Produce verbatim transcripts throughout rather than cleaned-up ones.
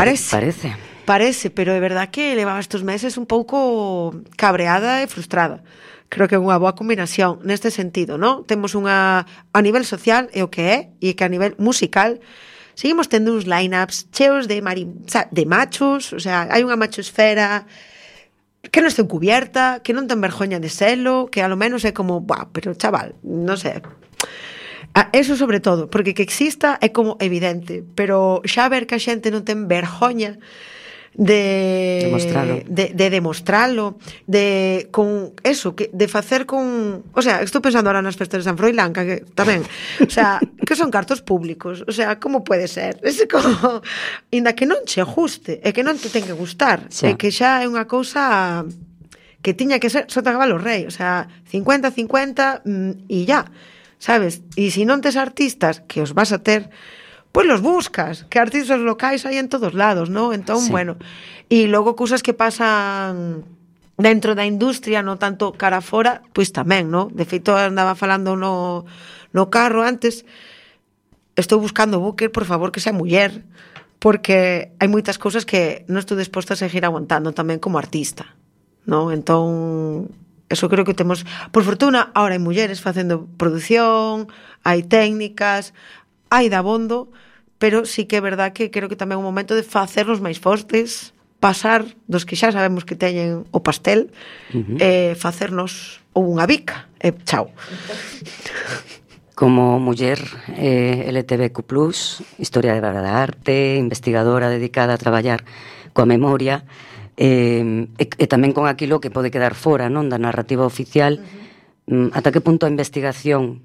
Parece. Parece. Parece, pero é verdad que levaba estes meses un pouco cabreada e frustrada. Creo que é unha boa combinación neste sentido, ¿no? Temos unha, a nivel social é o que é, e que a nivel musical seguimos tendo uns line-ups cheos de mari, de machos, o sea, hai unha machosfera que non está encubierta, que non ten vergoña de selo, que a lo menos é como, buah, pero chaval, non sei. Ah, eso sobre todo, porque que exista é como evidente, pero xa ver que a xente non ten vergoña de demostralo, de, de demostralo, de con eso, que de facer con, o sea, estou pensando ahora nas festas de San Froilán, que tamén, o sea, que son cartos públicos, o sea, como pode ser? Ese como, inda que non che guste, é que non te ten que gustar, sí. É que xa é unha cousa que tiña que ser sota cabalo rei, o sea, cincuenta cincuenta mm, e ya, sabes? E se non tes artistas, que os vas a ter, pois los buscas, que artistas locais hai en todos lados, ¿no? Entón, sí. Bueno, e logo cousas que pasan dentro da industria, no tanto cara fora, pois tamén, ¿no? De feito, andaba falando no, no carro antes, estou buscando booker, por favor, que sea muller, porque hai moitas cousas que non estou disposta a seguir aguantando tamén como artista, ¿no? Entón, eso creo que temos, por fortuna, ahora hai mulleres facendo produción, hai técnicas, hai dabondo, pero sí que é verdad que creo que tamén é un momento de facernos máis fortes, pasar dos que xa sabemos que teñen o pastel, uh-huh. e facernos unha bica, e chao. Como muller eh, L G B Q plus, historiadora da arte, investigadora dedicada a traballar coa memoria, eh, e, e tamén con aquilo que pode quedar fora, non, da narrativa oficial, uh-huh. ata que punto a investigación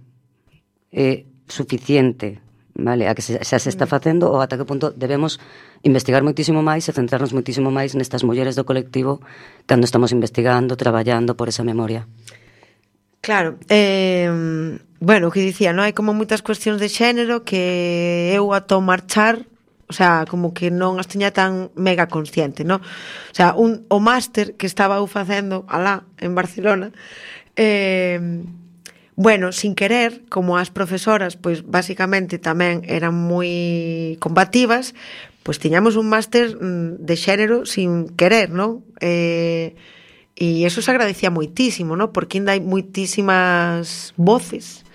é suficiente, vale, a que se, xa se está facendo, ou ata que punto debemos investigar moitísimo máis e centrarnos moitísimo máis nestas mulleres do colectivo cando estamos investigando, traballando por esa memoria. Claro, eh, bueno, o que dicía, non hai como moitas cuestións de xénero que eu ato marchar, o sea, como que non as tiña tan mega consciente, non? O sea, un, o máster que estaba eu facendo alá en Barcelona, eh, bueno, sin querer, como as profesoras, pois basicamente tamén eran moi combativas, pois tiñamos un máster de xénero sin querer, non? Eh, e eso se agradecía moitísimo, non? Porque ainda hai moitísimas voces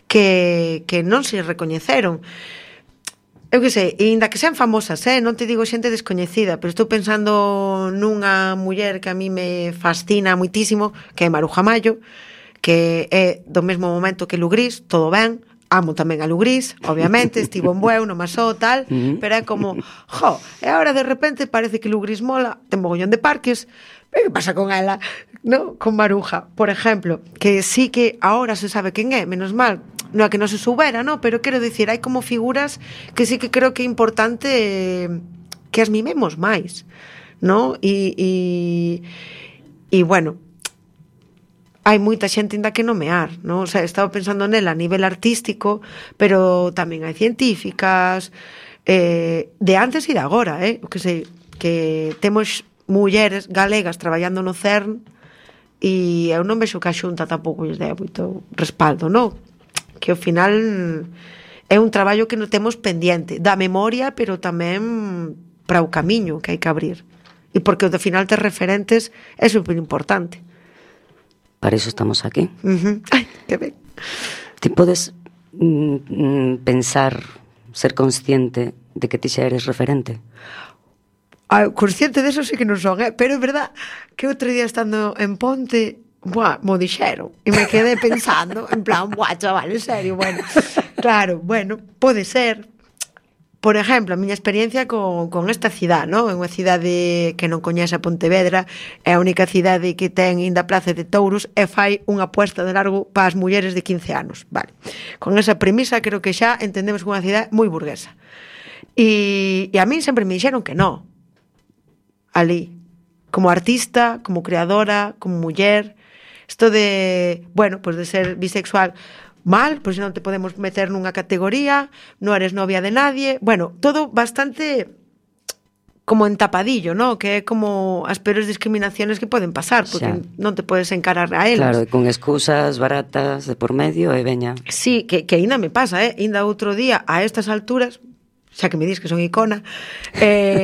que, que non se recoñeceron. Eu que sei, e ainda que sean famosas, eh? Non te digo xente descoñecida, pero estou pensando nunha muller que a mí me fascina moitísimo, que é Maruja Mayo, que é do mesmo momento que Lugrís, todo ben, amo tamén a Lugrís, obviamente, estivo en Bueu, no Masó, tal, pero é como, jo, e agora de repente parece que Lugrís mola, ten mogollón de parques, pero que pasa con ela, no? Con Maruja, por exemplo, que sí que agora se sabe quen é, menos mal, non é que non se soubera, no? Pero quero dicir, hai como figuras que sí que creo que é importante eh, que as mimemos máis, no? E, e, e bueno, hai moita xente ainda que nomear, non? O sea, estaba pensando nela a nivel artístico, pero tamén hai científicas, eh, de antes e de agora, eh? O que sei, que temos mulleres galegas traballando no CERN e eu non vexo que a Xunta tampouco lles dea moito respaldo, non? Que ao final é un traballo que non temos pendiente da memoria, pero tamén para o camiño que hai que abrir. E porque ao final ter referentes é super importante. Para iso estamos aquí. Uh-huh. Ai, que ben. Ti podes mm, pensar, ser consciente de que ti xa eres referente? Ah, consciente deso sí que non son, eh? Pero é verdad que outro día estando en Ponte, buah, mo dixeron, e me quedé pensando, en plan, buah, chaval, en serio, bueno, claro, bueno, pode ser. Por exemplo, a miña experiencia con, con esta cidade, non? É unha cidade que non coñece a Pontevedra, é a única cidade que ten ainda Praza de Touros e fai unha aposta de largo para as mulleres de quince anos, vale. Con esa premisa creo que xa entendemos que é unha cidade moi burguesa. E, e a mí sempre me dixeron que non. Ali, como artista, como creadora, como muller, isto de, bueno, pues de ser bisexual, mal, pois non te podemos meter nunha categoría, non eres novia de nadie, bueno, todo bastante como entapadillo, ¿no? Que é como as peores discriminaciones que poden pasar, porque xa non te podes encarar a elas. Claro, e con excusas baratas de por medio e veña. Sí, que, que ainda me pasa, eh? Ainda outro día, a estas alturas, xa que me dis que son icona, eh,